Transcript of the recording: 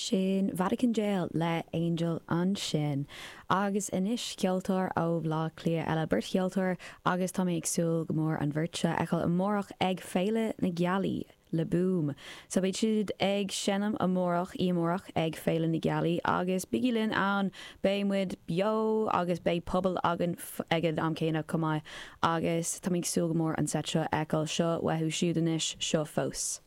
Sin Vatican Jail le Angel ansin. Agus anois ceoltóir ó Bhleá Cliath eile, beirt cheoltóir agus tá mé ag súil go mór an bheirt seo a fheiceáil amárach ag Féile na Gealaí le Boom. So beidh siad ag seinm amárach, í amárach ag Féile na Gealaí agus bígí linn ann, beidh muid beo agus beidh puball againn ag an am céanna chomh maith agus tá mé ag súil go mór an seit seo a fheiceáil. Seo uathu siúd anois, seo Fós.